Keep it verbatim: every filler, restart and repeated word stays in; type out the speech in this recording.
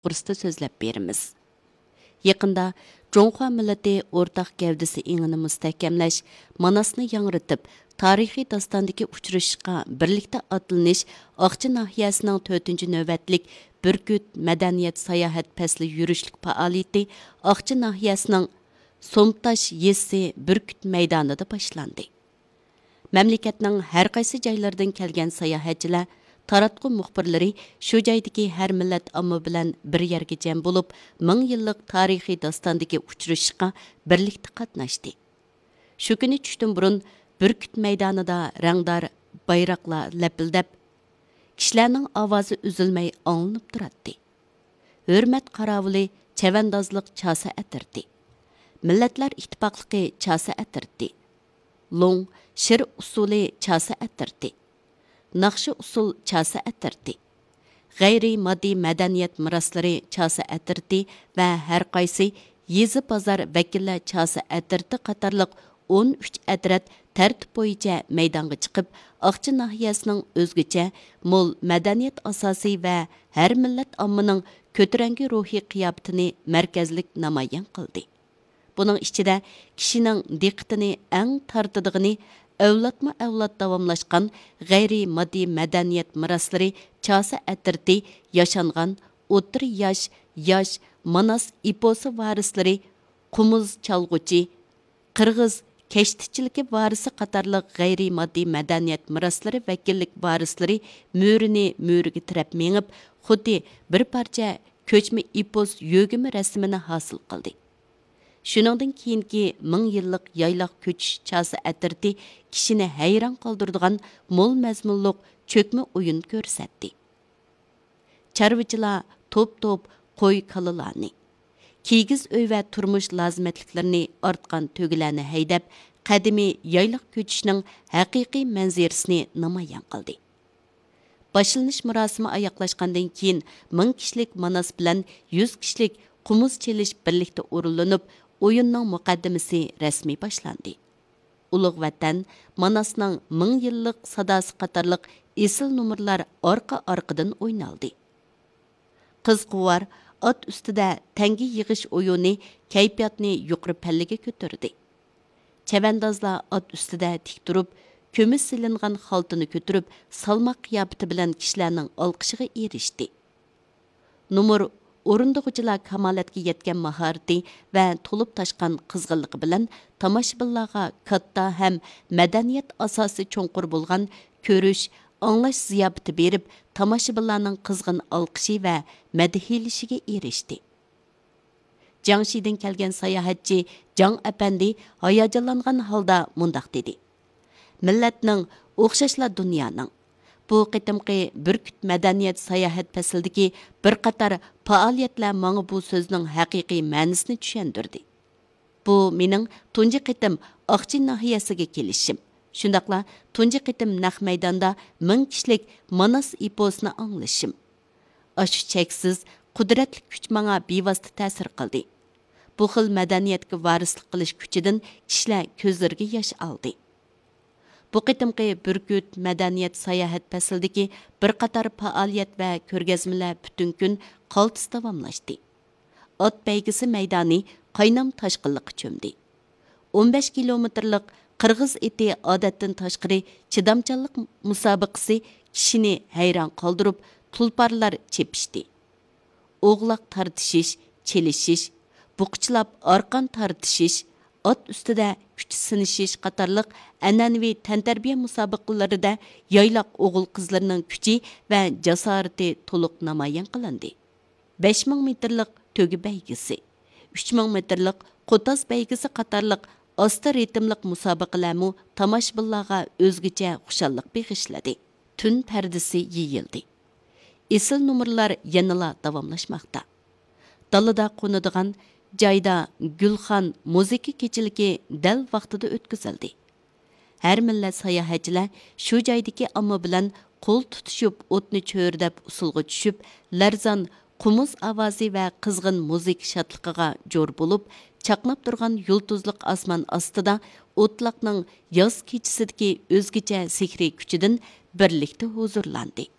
توغرىسىدا سۆزلەپ بېرىمىز. يېقىندا جۇڭخۇا مىللىتى ئورتاق گەۋدىسى ئېڭىنى مۇستەھكەملەش، ماناسنى ياڭرىتىپ، تارىخىي داستاندىكى ئۇچرىشىشقا بىرلىكتە ئاتلىنىش ئاقچى ناھىيەسىنىڭ تۆتىنچى نۆۋەتلىك بۈركۈت مەدەنىيەت ساياھەت پەسلى يۈرۈشلۈك پائالىيىتى ئاقچى ناھىيەسىنىڭ سومتاش يېزىسى بۈركۈت مەيدانىدا باشلاندى. مەملىكەتنىڭ ھەر قايسى جايلىرىدىن كەلگەن ساياھەتچىلەر، تاراتقۇ مۇخبىرلىرى شۇ جايدىكى ھەر مىللەت ئامما بىلەن بىر يەرگە جەم بولۇپ، مىڭ يىللىق تارىخىي داستاندىكى ئۇچرىشىشقا بىرلىكتە قاتناشتى. شۇ كۈنى چۈشتىن بۇرۇن بۈركۈت مەيدانىدا رەڭدار بايراقلار لەپىلدەپ، كىشىلەرنىڭ ئاۋازى ئۈزۈلمەي ئاڭلىنىپ تۇراتتى. ھۆرمەت قاراۋۇلى چەۋەندازلىق چاسا ئەترىتى، مىللەتلەر ئىتتىپاقلىقى چاسا ئەترىتى، لوڭ شىر ئۇسسۇلى چاسا ئەترىتى، ناخشا ئۇسسۇل چاسا ئەترىتى، غەيرىي ماددىي مەدەنىيەت مىراسلىرى چاسا ئەترىتى ۋە ھەر قايسى يېزا، بازار ۋەكىللەر چاسا ئەترىتى قاتارلىق ئون ئۈچ ئەترەت تەرتىپ بويىچە مەيدانغا چىقىپ، ئاقچى ناھىيەسىنىڭ ئۆزگىچە مول مەدەنىيەت ئاساسى ۋە ھەر مىللەت ئاممىنىڭ كۆتۈرەڭگۈ روھىي قىياپىتىنى مەركەزلىك نامايان قىلدى. بۇنىڭ ئىچىدە كىشىنىڭ دىققىتىنى ئەڭ تارتىدىغىنى ئەۋلادمۇ ئەۋلاد داۋاملاشقان غەيرىي ماددىي مەدەنىيەت مىراسلىرى چاسا ئەترىتى ياشانغان ئوتتۇرا ياش، ياش ماناس ئېپوسى ۋارىسلىرى، قومۇز چالغۇچى، قىرغىز كەشتىچىلىكى ۋارىسى قاتارلىق غەيرىي ماددىي مەدەنىيەت مىراسلىرى ۋەكىللىك ۋارىسلىرى مۈرىنى مۈرىگە تىرەپ مېڭىپ، خۇددى بىر پارچە كۆچمە ئېپوس يۆگىمە رەسىمىنى ھاسىل قىلدى. شۇنىڭدىن كېيىنكى مىڭ يىللىق يايلاق كۆچۈش چاسا ئەترىتى كىشىنى ھەيران قالدۇرىدىغان مول مەزمۇنلۇق چۆكمە ئويۇن كۆرسەتتى. چارۋىچىلار توپ-توپ قوي-كالىلارنى، كىگىز ئۆي ۋە تۇرمۇش لازىمەتلىكلىرىنى ئارتقان تۆگىلەرنى ھەيدەپ، قەدىمىي يايلاق كۆچۈشنىڭ ھەقىقىي مەنزىرىسىنى نامايان قىلدى. باشلىنىش مۇراسىمى ئاياغلاشقاندىن كېيىن، مىڭ كىشىلىك ماناس بىلەن يۈز كىشىلىك قومۇز چېلىش بىرلىكتە ئورۇنلىنىپ، ئويۇننىڭ مۇقەددىمىسى رەسمىي باشلاندى. ئۇلۇغ ۋەتەن، ماناسنىڭ مىڭ يىللىق ساداسى قاتارلىق ئېسىل نومۇرلار ئارقا-ئارقىدىن ئوينالدى. قىزىقۇۋار، ئات ئۈستىدە تەڭگە يىغىش ئويۇنى كەيپىياتنى يۇقىرى پەللىگە كۆتۈردى. چەۋەندازلار ئات ئۈستىدە تىك تۇرۇپ، كۈمۈش سېلىنغان خالتىنى كۆتۈرۈپ، سالماق قىياپىتى بىلەن كىشىلەرنىڭ ئالقىشىغا ئېرىشتى. نومۇر ئورۇندىغۇچىلار كامالەتكە يەتكەن ماھارىتى ۋە تولۇپ تاشقان قىزغىنلىقى بىلەن تاماشىبىنلارغا كاتتا ھەم مەدەنىيەت ئاساسى چوڭقۇر بولغان كۆرۈش، ئاڭلاش زىياپىتى بېرىپ، تاماشىبىنلارنىڭ قىزغىن ئالقىشى ۋە مەدھىيلىشىگە ئېرىشتى. جياڭشىدىن كەلگەن ساياھەتچى جاڭ ئەپەندى ھاياجانلانغان ھالدا مۇنداق دېدى: مىللەتنىڭ، ئوخشاشلا دۇنيانىڭ. بۇ قېتىمقى بۈركۈت مەدەنىيەت ساياھەت پەسلىدىكى بىر قاتار پائالىيەتلەر ماڭا بۇ سۆزنىڭ ھەقىقىي مەنىسىنى چۈشەندۈردى. بۇ مېنىڭ تۇنجى قېتىم ئاقچى ناھىيەسىگە كېلىشىم، شۇنداقلا تۇنجى قېتىم نەق مەيداندا مىڭ كىشىلىك ماناس ئېپوسىنى ئاڭلىشىم. ئاشۇ چەكسىز قۇدرەتلىك كۈچ ماڭا بىۋاسىتە تەسىر قىلدى. بۇ خىل مەدەنىيەتكە ۋارىسلىق قىلىش كۈچىدىن كىشىلەر كۆزلىرىگە ياش ئالدى. بۇ قېتىمقى بۈركۈت مەدەنىيەت ساياھەت پەسلىدىكى بىر قاتار پائالىيەت ۋە كۆرگەزمىلەر پۈتۈن كۈن قالتىس داۋاملاشتى. ئات بەيگىسى مەيدانى قاينام تاشقىنلىققا چۆمدى. ئون بەش كىلومېتىرلىق قىرغىز ئېتى ئادەتتىن تاشقىرى چىدامچانلىق مۇسابىقىسى كىشىنى ھەيران قالدۇرۇپ، تۇلپارلار چېپىشتى. ئوغلاق تارتىشىش، چېلىشىش، بۇقىچىلاپ ئارقان تارتىشىش، ئات ئۈستىدە كۈچ سىنىشىش قاتارلىق ئەنئەنىۋى تەنتەربىيە مۇسابىقىلىرىدە يايلاق ئوغۇل-قىزلىرىنىڭ كۈچى ۋە جاسارىتى تولۇق نامايان قىلىندى. بەش مىڭ مېتىرلىق تۆگە بەيگىسى، ئۈچ مىڭ مېتىرلىق قوتاز بەيگىسى قاتارلىق ئاستا رىتىملىق مۇسابىقىلەرمۇ تاماشىبىنلارغا ئۆزگىچە خۇشاللىق بېغىشلىدى. تۈن پەردىسى يېيىلدى. ئېسىل نومۇرلار يەنىلا داۋاملاشماقتا. دالىدا قونىدىغان جايدا گۈلخان مۇزىكا كېچىلىكى دەل ۋاقتىدا ئۆتكۈزۈلدى. ھەر مىللەت ساياھەتچىلەر شۇ جايدىكى ئامما بىلەن قول تۇتۇشۇپ، ئوتنى چۆرىدەپ ئۇسسۇلغا چۈشۈپ، لەرزان قومۇز ئاۋازى ۋە قىزغىن مۇزىكا شادلىقىغا جور بولۇپ، چاقناپ تۇرغان يۇلتۇزلۇق ئاسمان ئاستىدا ئوتلاقنىڭ ياز كېچىسىدىكى ئۆزگىچە سېھرىي كۈچىدىن بىرلىكتە ھۇزۇرلاندى.